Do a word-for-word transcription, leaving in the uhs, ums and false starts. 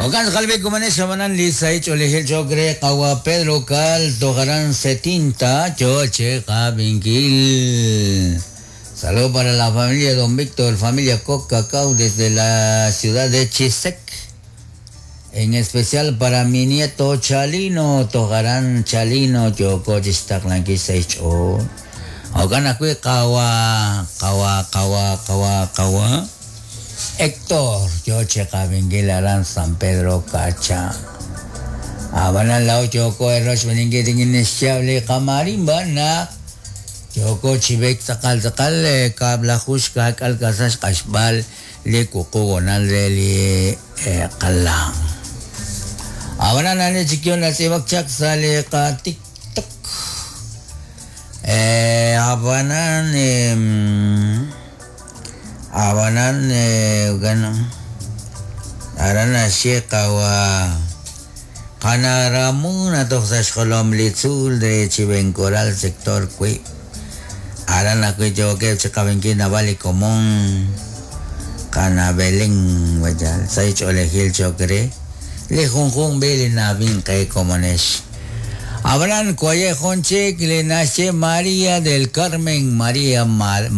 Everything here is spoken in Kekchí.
Okan qalbi kumanex abanan li saich olejel chokre qawa Pedro Cal tojaran setinta choche qabinkil. Saludo para la familia Don Víctor, familia Coca Cacao desde la ciudad de Chisec. En especial para mi nieto Chalino, Tojarán Chalino, Yoko Chistaklanki Seicho. Okan akui kawa, kawa, kawa, kawa, kawa. Héctor, Yoche Kabingil Aran San Pedro Cacha. Abanan lao Yoko Erosh Beningui Tingin Kamarimba na. Yoko Chibek Takal Takal Kabla Hushka Kalkasash Kashbal li kukugonal de li kalang. Abanan ane chikyon la sibak chak sale ka TikTok. Eh, abanan eh, abanan eh, gano. Arana sheka wa Kanaramuna toxaxkolom litzul de Chivencoral sector kui. Arana kui choque chikabenki navali común. Kana Belén wajal saich olejil chokre. Le junjun bele nabin que comonesh. Abraham Cuaye Jonchek le nace María del Carmen María Mar